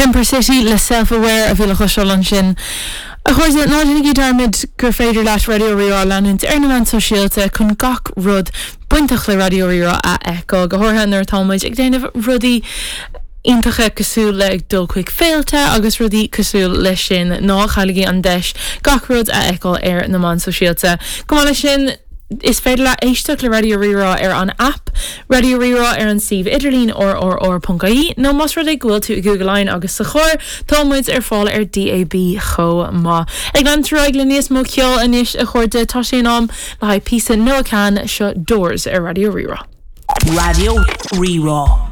Jumper City le Self Aware a bhí le cloisteáil ansin. A chairde, ná déanaigí dearmad gur féidir leat Raidió Rí-Rá a leanúint ar na meáin sóisialta chun gach rud bainteach le Raidió Rí-Rá a fheiceáil, go háirithe nuair atá muid ag déanamh rudaí iontacha cosúil le ag dul chuig féilte agus rudaí cosúil leis sin. Ná cailligí an deis gach rud a fheiceáil ar na meáin sóisialta. Chomh maith leis sin, is féidir leat éisteacht le Raidió Rí-Rá ar an aip Raidió Rí-Rá ar an suíomh idirlín rrr.ie nó más rud é go bhfuil tú i gCúige Laighean agus sa charr, tá muid ar fáil ar DAB chomh maith. Ag leanúint ar aghaidh le níos mó ceoil anois a chairde, tá sé in am le haghaidh píosa Noah Kahan, seo Doors ar Raidió Rí-Rá. Raidió Rí-Rá.